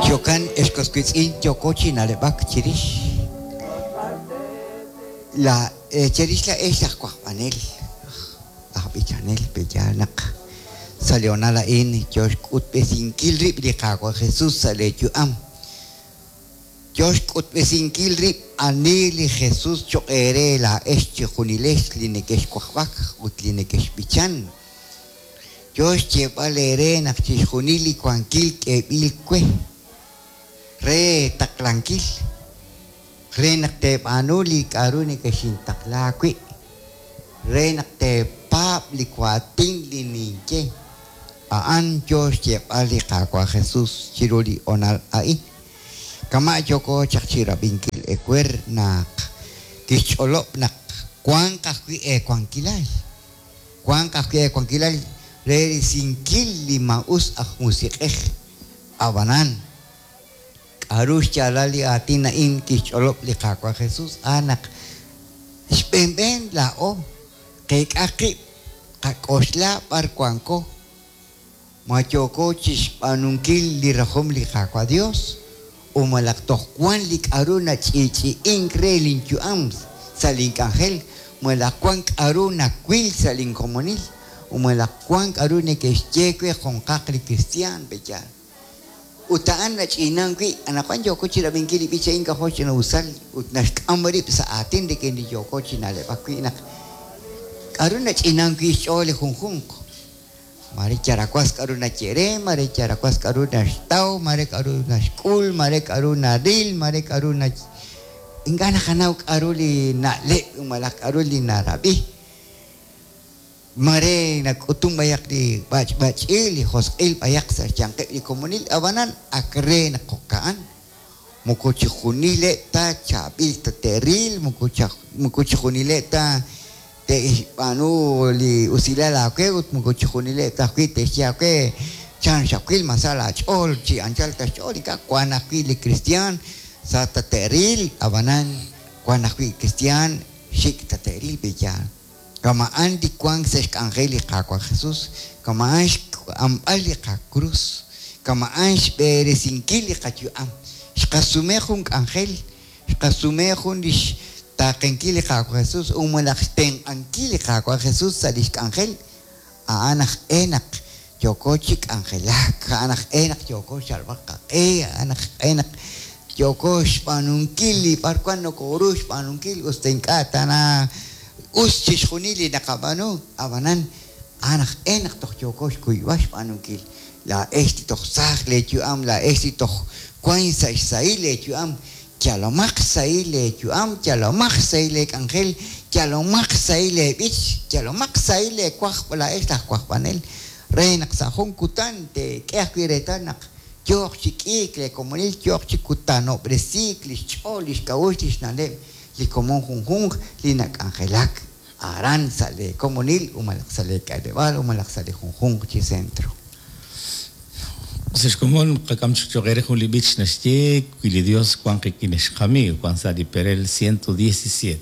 Jo'kan, ex was wiitz'in, yooko chi na'leb'ak chirix la cherix laa'ex laj wajb'anel, aj b'ichanel, pe'yaal naq sa' li hoonal a'in yo xk'utb'esinkil rib' li Qaawa' Jesus sa' lee yu'am. Yo xk'utb'esinkil rib' ani li Jesus choq' eere laa'ex chejunilex li nekexwajb'ak ut li nekexb'ichan. Yo xyeeb'al eere naq chixjunil li wankil k'eeb'il we re taqlankil, re naq teeb'aanu li k'a'ru nekexintaqla wi', re naq teepaab' li waatin li ninye. A'an yo xyeeb'al li Qaawa' Jesus chiru li hoonal a'in. Kama' yooko chaq chi rab'inkil ewer naq kixch'olob' naq wanq ajwi' eewankilal, wanq ajwi' eewankilal re risinkil li maa'us aj musiq'ej. Ab'anan, k'aru xyaalal li aatin a'in kixch'olob' li Qaawa' Jesus? A'an naq xb'een b'een laa'o qeek'a qib', qak'oxla b'ar wanko. Ma yooko chixb'aanunkil li rajom li Qaawa' Dios, o malaj toj wan li k'a'ru nach'i'ch'i'ink re lin yu'am sa' lin k'anjel, malaj wan k'a'ru nawil sa' lin komonil, o malaj wan k'a'ru neke'xye we junqaq li kristiaan? Pe'yaal? Ut a'an nach'inan wi'. Anaqwan yooko chirab'inkil li b'ich a'in k'ajo' xch'ina'usal ut naxk'am rib' sa' aatin rik'in li yooko chi na'leb'ak wi' naq k'a'ru nach'inan wi' xch'ool li junjunq. Mare yarawas k'a'ru naye re, mare yarawas k'a'ru naxtaw, mare k'a'ru naxk'ul, mare k'a'ru naril, mare k'a'ru na ink'a' naqanaw k'a'ru li na'leb' malaj k'a'ru li narab'i. Mare nak'utun b'ayaq li b'ach'b'ach'il, li josq'il b'ayaq sa' xyanqeb' li komonil, ab'anan ak re naq jo'ka'an. Moko chixjunileb' ta chaab'il ta te'ril, moko chixjunileb' ta te'xb'aanu li usilal aawe ut moko chixjunileb' ta ajwi' te'xye aawe chan xawil ma sa laach'ool chi anchal ta xch'ool. Ink'a' wank ajwi' li kristiaan sa ta te'ril, ab'anan wank ajwi' kristiaan xik' ta te'ril pe'yaal. Kama'an li wank sa' xk'anjel li Qaawa' Jesus, kama'an xk'amb'al li qakrus, kama'an xb'eresinkil li qayu'am. Xqasume jun k'anjel, xqasume jun li xtaaqenkil li Qaawa' Jesus ut malaj xtenq'ankil li Qaawa' Jesus sa' lix k'anjel, a'an aj e naq yooko chi k'anjelak, a'an aj e naq yooko xyalb'al qaq'e, a'an aj e naq yooko xb'aanunkil li b'arwan nokoru xb'aanunkil us ta ink'a' tana us chixjunil li naqab'aanu, ab'anan a'an aj e naq toj yooko xkuyb'al xb'aanunkil. Laa'ex li toj saaj leeyu'am, laa'ex li toj wank sa' xsahil leeyu'am, yalomaq xsahil leeyu'am, yalomaq xsahil leek'anjel, yalomaq xsahil leeb'ich, yalomaq xsahil leewajb' laa'ex laj wajb'anel, re naq sa' jun kutan teek'e ajwi' reetal naq yooq chi k'iik leekomonil, yooq chi kutanob'resiik li xch'ool, li xk'a'uxl, li xna'leb' li komon junjunq li nak'anjelak aran sa' leekomonil u malaj sa' leek'aleb'aal u malaj sa' li junjunq chi centro. Sa' xkomon qak'am chik cho'q eere jun li b'ich naxye wi li Dios wank qik'in ex qamiiw, wank sa' li perel 117.